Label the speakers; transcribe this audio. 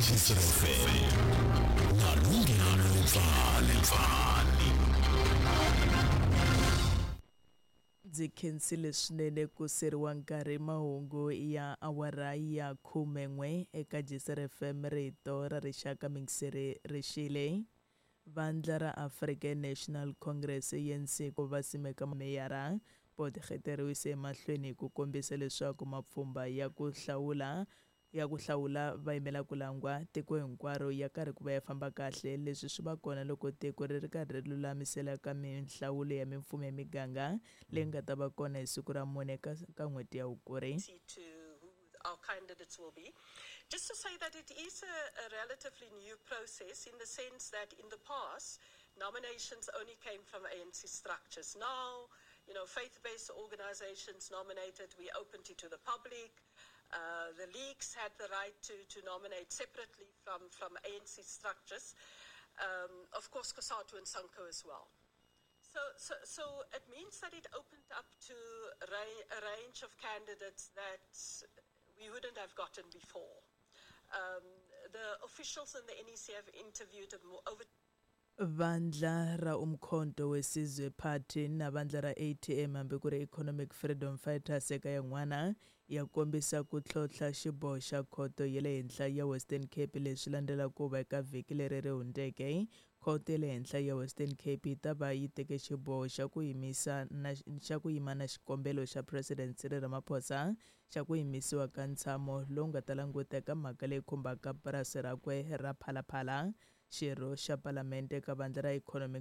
Speaker 1: FM na Lunghelo Pfani.
Speaker 2: Ndzi khensile swinene ku seriwa nkarhi mahungu ya awara ya 11 eka Jisr FM rito ra rixaka mingiseri rixile. Vandla ra African National Congress ANC ku va simeka meyara Potgieter u yise emahlweni hi ku kombisa leswaku mapfhumba ya ku hlawula ya ku hlawula va yimela ku langwa tiko hinkwaro ya karhi ku va ya famba kahle. Leswi swi va kona loko tiko ri ri karhi ri lulamisela ka minhlawulo ya mimfumo ya miganga leyi nga ta va kona hi siku ra mune ka ka n'hweti ya Hukuri.
Speaker 3: To who our candidates will be. Just to say that it is a relatively new process in the sense that in the past, nominations only came from ANC structures. Now, faith-based organizations nominated, we opened it to the public. The leagues had the right to nominate separately from ANC structures. Of course, COSATU and SANCO as well. So it means that it opened up to a range of candidates that we wouldn't have gotten before. The officials in the NEC have interviewed over
Speaker 2: Vandla ra Umkhonto weSizwe Party na vandla ra ATM hambi ku ri Economic Freedom Fighters eka yan'wana ya kombisa ku tlhontlha xiboho xa khoto ya le henhla ya Western Cape. Leswi landela ku va eka vhiki leri ri hundzeke khoto ya le henhla ya Western Cape yi ta va yi teke xiboho xa ku yimisa na xa ku yima na xikombelo xa President Cyril Ramaphosa xa ku yimisiwa ka ntshamo lowu nga ta languta eka mhaka leyi khumbaka purasi rakwe ra Phalaphala. Xirho xa palamende eka vandla ra Economic